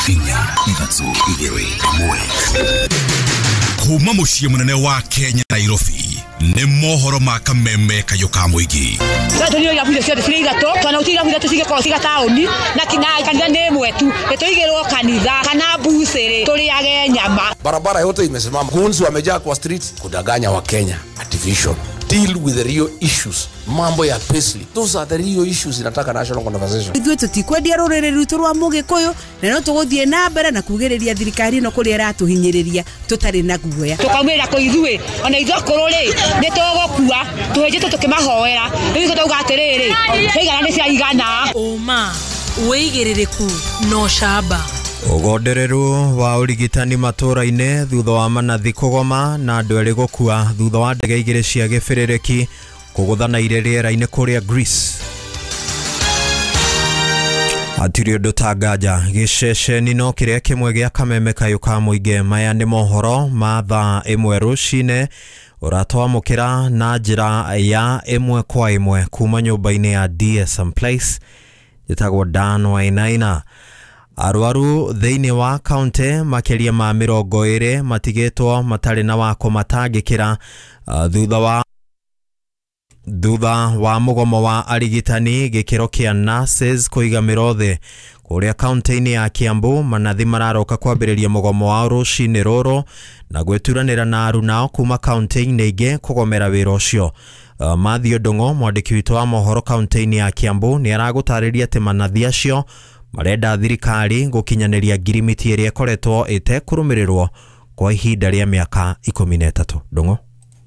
4 3 2 1. Kuma muciĩ mũnene wa Kenya Nairobi nĩ mohoro ma kameme kayũ ka mũingĩ. Tũthiĩ irabu icio ciothe cirĩ ithatũ tondũ gũtirĩ irabu ithatũ cingĩkorwo ciga taũni na kanitha nĩ ĩmwe tu, nĩtũigĩrwo kanitha kana mbucĩrĩ tũrĩage nyama. Barabara yote imesimama, goons wamejaa kwa street kudanganya wa Kenya. Artificial. Deal with the real issues. Mambo ya payslip. Those are the real issues inataka national conversation. Ithuĩ tũtikwendia rũrĩrĩ rwitũ rwa Mũgĩkũyũ na no tũgũthiĩ na mbere na kugĩrĩria thirikari ĩno kũrĩa ĩratũhinyĩrĩria tũtarĩ na guoya. Tũkaumĩrĩra kũ ithuĩ ona ithuĩ akũrũ rĩ nĩ tũgũkua tũhĩnjĩte tũkĩmahoera rĩu ithuĩ tũrauga atĩrĩrĩ ciaigana nĩ ciaigana. Ũma wĩigĩrĩrĩku na ũcamba. Ũgondereru wa ũrigitani matũra-inĩ thutha wa manathi kũgoma na andũ erĩ gũkua thutha wa ndege igĩrĩ cia gĩbĩrĩrĩki kũgũthana irĩ rĩera-inĩ kũrĩa Greece. Hatirĩ ũndũ ta nganja gĩceceni no kĩrĩa kĩmwe gĩa kameme kayũ ka mũingĩ. Maya nĩ mohoro ma thaa 1 rũcinĩ ũratwamũkĩra na njĩra ya 1 kwa 1 kuma nyũmba-inĩ ya DSM Place. Njĩtagwo Dan Wainaina. Arwaru thĩinĩ wa kaunti makĩria ma 20 matigĩtwo matarĩ na wa kũmatangĩkĩra thutha wa mũgomo wa arigitani gĩkĩro kĩa nurses kũiga mĩro thĩ kũrĩa kaunti-inĩ ya Kiambu. Manathi mararoka kwambĩrĩria mũgomo wao rũcinĩ rũrũ na gwĩturanĩra na arunao kuma kaunti-inĩ ingĩ kũgomera wĩra ũcio. Matthew Ndung'u mwandĩki witũ wa mohoro kaunti-inĩ ya Kiambu nĩ aragũtarĩria atĩ manathi acio marenda thirikari gũkinyanĩria ngirimiti ĩrĩa ĩkoretwo ĩtekũrũmĩrĩrwo kwa ihinda rĩa mĩaka 13. Ndung'u.